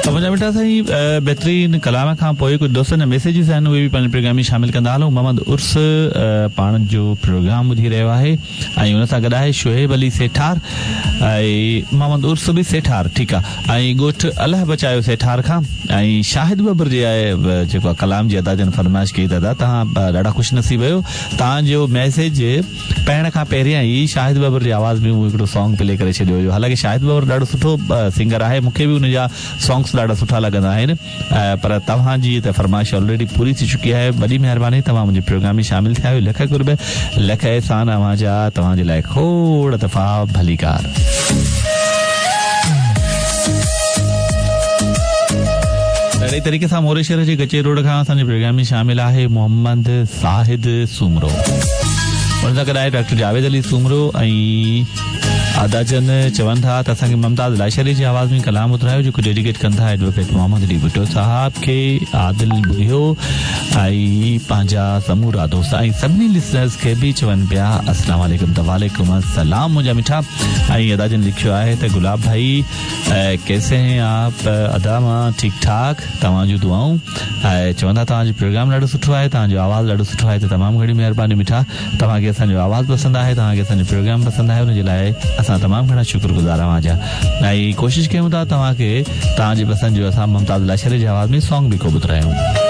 ته منهنجا مٺا سائين بهترين ڪلام کان پوء ڪجهه دوستن جا ميسيجز آهن اهي به پنهنجي پروگرام ۾ شامل ڪندا هلون محمد عرس پاڻ جو پروگرام ٻڌي رهيو آهي ۽ ان سان گڏ آهي شعيب علي سيٺار ۽ محمد عرس به سيٺار ٺيڪ آ ۽ ڳوٺ الهه بچايو سيٺار کان ۽ شاهد ٻٻر جي آهي جيڪو آ ڪلام جي ادا جن فرمائش ڪئي ته ادا توهان ڏاڍا خوش نصيب آهيو توهان جو ميسيج پڙهڻ کان پهريان ئي شاهد ٻٻر جي آواز ۾ مون هڪڙو سانگ پلي ڪري ڇڏيو هيو حالانڪه شاهد ٻٻر ڏاڍو سٺو سنگر آهي مون کي به ان جا سانگس ڏاڍا سٺا لڳندا آهن پر توهان جي ته فرمائش آلريڊي پوري ٿي چڪي آهي وڏي مهرباني توهان منهنجي پروگرام ۾ شامل ٿيا آهيو لک قرب لک احسان اوهان جا توهان جي لاء کوڙ دفعا ڀليڪار. اهڙي طريقي سان موري شهر جي ڪچي روڊ کان اسان جي پروگرام ۾ شامل آهي محمد زاهد سومرو ان سان گڏ آهي ڊاڪٽر جاويد علي سومرو ۽ ادا جن چون ٿا ته اسان کي ممتاز لاشاري جي آواز ۾ ڪلام ٻڌرايو جيڪو ڊيڊيڪيٽ ڪن ٿا ايڊووڪيٽ محمد علي ڀٽو صاحب کي عادل ٻگهيو ۽ پنهنجا سمورا دوست ۽ سڀني لسنرز کي به چون پيا السلام عليڪم ته وعليڪم السلام منهنجا مٺا ۽ ادا جن لکيو آهي ته گلاب ڀائي ڪيسي هين آپ ادا مان ٺيڪ ٺاڪ توهان جون دعائون ۽ چون ٿا توهان جو پروگرام ڏاڍو سٺو آهي توهان جو آواز ڏاڍو سٺو آهي ته تمام گهڻي مهرباني مٺا توهان کي اسان جو آواز پسند آهي توهان کي اسان جو پروگرام پسند آهي ان جي لاء اسان تمام گهڻا شڪر گذار اوهان جا ۽ ڪوشش ڪيون ٿا توهان کي توهان جي پسند جو اسان ممتاز لاشاري جي آواز ۾ سانگ به ڪو ٻڌرايون.